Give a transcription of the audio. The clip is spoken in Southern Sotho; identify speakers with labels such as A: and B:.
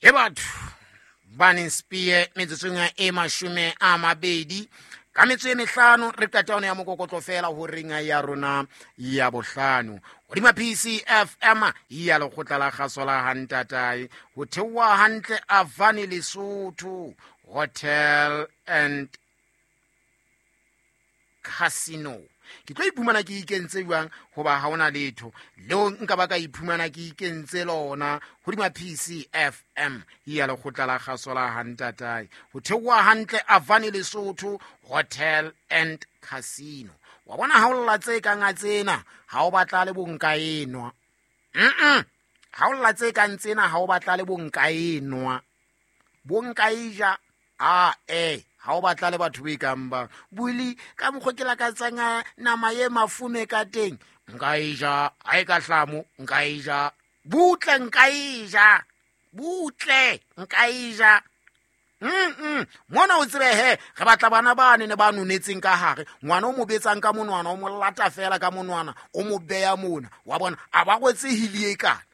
A: E batho baneng spee metsotsong e 20 ka metso e mehlano re qeta yone ya mokokotlo fela ho reng ya rona ya bohlano hodima PCFM ya lekgotla la kgaso la hantatae ho theoha hantle Avani Lesotho Hotel and Casino. Ke tlo iphumana ke ikentse jwang goba ga ona letho leo nka ba ka iphumana ke ikentse lona godima PCFM ya lekgotla la kgaso la hantatae ho theoha hantle Avani Lesotho Hotel and Casino. Wa bona ha o lla tse kang a tsena ha o batla le bonka enwa. Ha o lla tse kang tsena ha o batla le bonka enwa. Bonka e ja a e ha o batla le batho ba ikang ba buli ka mokgwa ke lakatsang nama ye mafume ka teng nka e ja ha e ka hlamo nka e ja butle nka e ja butle nka e ja. Mona o tsebe he re batla bana ba ne ba nonetseng ka hare ngwana o mo betsang ka monwana o mo lata fela ka monwana o mo beya mona wa bona a ba rwetse hili e kana.